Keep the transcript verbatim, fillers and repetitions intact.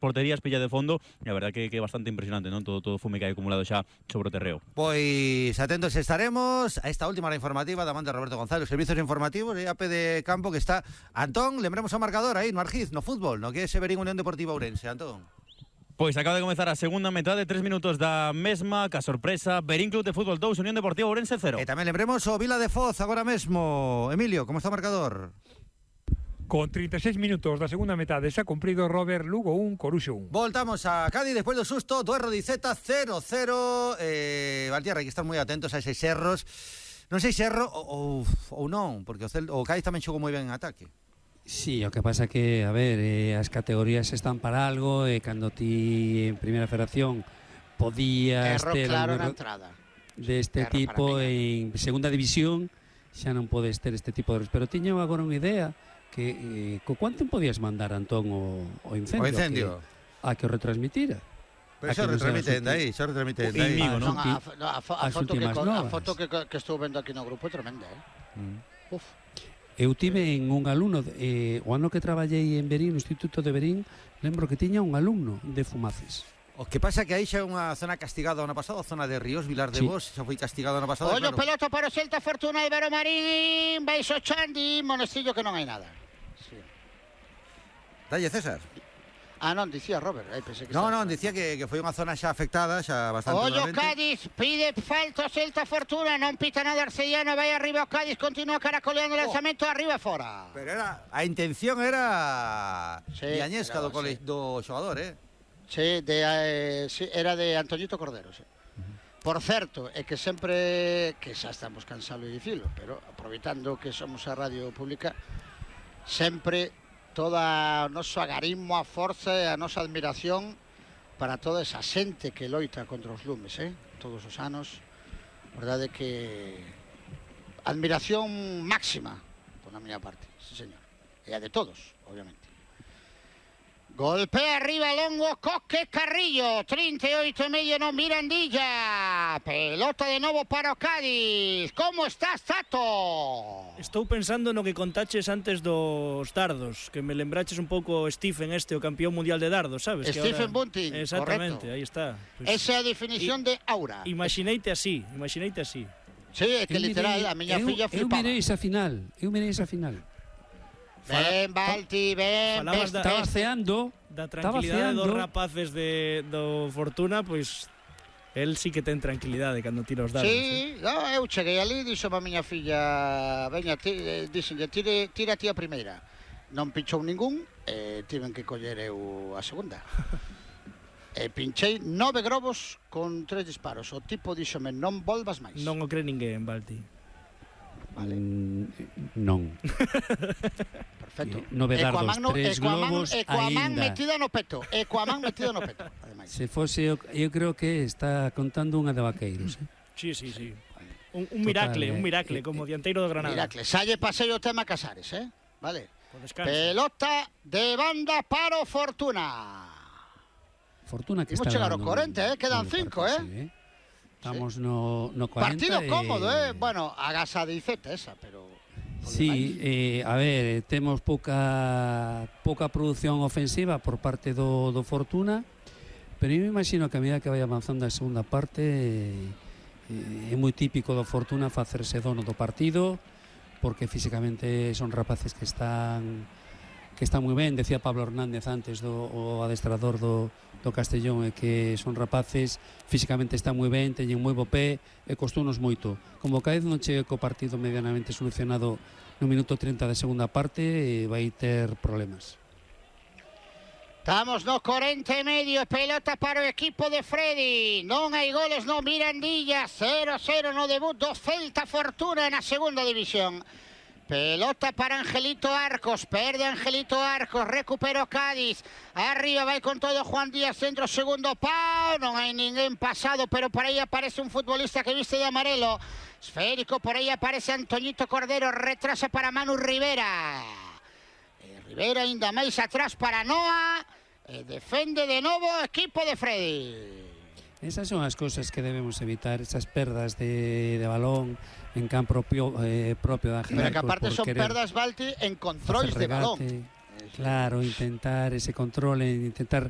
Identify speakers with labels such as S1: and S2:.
S1: porterías, pilla de fondo, e a verdad que, que é bastante impresionante, non? Todo, todo fume que hai acumulado xa sobre o terreo.
S2: Pois atentos estaremos a esta última hora informativa da man de Roberto González, servizos informativos e a pé de campo que está Antón, lembremos o marcador aí no Argiz, no fútbol, no que é Severín Unión Deportiva Ourense, Antón.
S1: Pois acaba de comezar a segunda metade, tres minutos da mesma, ca sorpresa, Verín Club de Fútbol dous, Unión Deportiva Ourense cero.
S2: E tamén lembremos o Vila de Foz agora mesmo. Emilio, como está o marcador?
S3: Con treinta e seis minutos da segunda metade xa cumprido Robert, Lugo un, Coruxo un.
S2: Voltamos a Cádiz despois do susto do Erro Diceta cero cero. Eh, Valtierra, hai que estar moi atentos a eses erros. Non sei se erro ou, ou non, porque o, Cel, o Cádiz tamén xogou moi ben en ataque.
S4: Sí, o que pasa que, a ver, eh, as categorías están para algo e eh, cando ti en Primeira Federación podías
S5: erro
S4: ter
S5: claro
S4: un
S5: na
S4: erro
S5: entrada
S4: deste
S5: erro
S4: tipo en Segunda División xa non podes ter este tipo de erros, pero tiño agora unha idea que eh, co cuánto podías mandar, Antón, o, o incendio,
S2: o incendio.
S4: A, que, a que o retransmitira.
S2: Pero xa retransmiten de aí, xa retransmiten de aí.
S5: Ah, non, a, no, a, a, a, foto que, a foto que, que estou vendo aquí no grupo é tremenda, eh? Mm. Uf.
S4: Eu tive en un alumno, eh, o ano que traballei en Verín, no Instituto de Verín, lembro que tiña un alumno de Fumaces.
S2: O que pasa que aí xa é unha zona castigada ano pasado, a zona de Ríos, Vilar de
S4: sí.
S2: Bos, xa foi castigada ano pasado.
S5: Ollo, claro. Pelota para o Celta, Fortuna, Ibero Marín, Baixo Chandi, Monestillo que non hai nada. Sí.
S2: Dalle, César.
S5: Ah, non, dicía Robert. Aí pensé que
S2: non, non, dicía que, que foi unha zona xa afectada, xa bastante.
S5: Ollo, Cádiz, pide falta Celta, Fortuna, non pita nada Arcellano, vai arriba o Cádiz, continúa caracoleando o oh. lanzamento, arriba e fora.
S2: Pero era, a intención era sí, Viañesca do, sí. do xogador, eh?
S5: Sí, de, eh, sí, era de Antoñito Cordero, sí. Uh-huh. Por certo, é que sempre, que xa estamos cansados de dicilo, pero aproveitando que somos a radio pública, sempre toda o noso agarismo, a forza e a nosa admiración para toda esa xente que loita contra os lumes, eh? Todos os anos. Verdade que admiración máxima por a miña parte, sí señor. E a de todos, obviamente. Golpea arriba Longo, Coque Carrillo, trinta e oito e medio no Mirandilla. Pelota de novo para o Cádiz. Como estás, Tato?
S6: Estou pensando no que contaches antes dos dardos, que me lembraches un pouco Stephen este, o campeón mundial de dardos, sabes?
S5: Stephen
S6: ahora...
S5: Bunting,
S6: exactamente,
S5: correcto.
S6: Aí está.
S5: Pues... Esa é a definición y... de aura.
S6: Imagineite así, imagineite así.
S5: Sí, é que eu literal, mirei, a miña
S4: eu,
S5: filla flipaba.
S4: Eu mirei esa final, eu mirei esa final.
S5: Ben, Balti, ben, ben.
S4: Estaba ceando.
S6: Da tranquilidade dos rapaces de, do Fortuna, pois el sí que ten tranquilidade cando tira os dados.
S5: Sí, eh? No, eu cheguei ali, dixo a miña filla, veña, dixenlle, tire, tira ti a primeira. Non pinchou ningún, e tiven que coller eu a segunda. E pinchei nove globos con tres disparos. O tipo díxome, non volvas máis.
S6: Non o cree ninguén, Balti.
S5: Vale.
S4: Mm, non.
S5: Perfecto.
S4: Nove dardos,
S5: no,
S4: tres globos
S5: Ecuamán
S4: aínda.
S5: metida no peto. Ecuamán metido no peto, ademais.
S4: Se fose, eu, eu creo que está contando unha de Vaqueiros, eh?
S6: Sí, sí, sí. Un, un miracle, Total, un miracle, eh, como dianteiro do Granada.
S5: Miracle. Salle pasei o tema Casares, eh? Vale. Pelota de banda para o Fortuna.
S4: Fortuna que
S5: Imos
S4: está
S5: chegar ao corrente, eh? Quedan cinco, eh?
S4: Sí, eh? Estamos sí. no, no cuarenta.
S5: Partido
S4: e...
S5: cómodo, eh? Bueno, agasa de Iceta esa, pero...
S4: Sí, eh, a ver, temos pouca pouca produción ofensiva por parte do, do Fortuna, pero eu me imagino que a medida que vai avanzando a segunda parte eh, é moi típico do Fortuna facerse dono do partido, porque físicamente son rapaces que están que están moi ben. Decía Pablo Hernández antes, do o adestrador do, do Castellón, é que son rapaces, físicamente están moi ben, teñen moi bo pé e costounos moito. Como Cádiz non chegue co partido medianamente solucionado no minuto treinta da segunda parte, e vai ter problemas.
S5: Estamos no corenta e medio, pelota para o equipo de Freddy. Non hai goles no Mirandilla, cero cero no debut do Celta Fortuna na segunda división. Pelota para Angelito Arcos, perde Angelito Arcos, recupera o Cádiz, arriba vai con todo Juan Díaz, centro, segundo pau, non hai ninguén pasado, pero por aí aparece un futbolista que viste de amarelo, esférico, por aí aparece Antoñito Cordero, retrasa para Manu Rivera, e Rivera ainda máis atrás para Noa, e defende de novo o equipo de Freddy.
S4: Esas son as cousas que debemos evitar, esas perdas de, de balón en campo propio, eh, propio de Ángel.
S5: Pero que aparte son perdas, Balti, en controles de balón.
S4: Claro, intentar ese control, intentar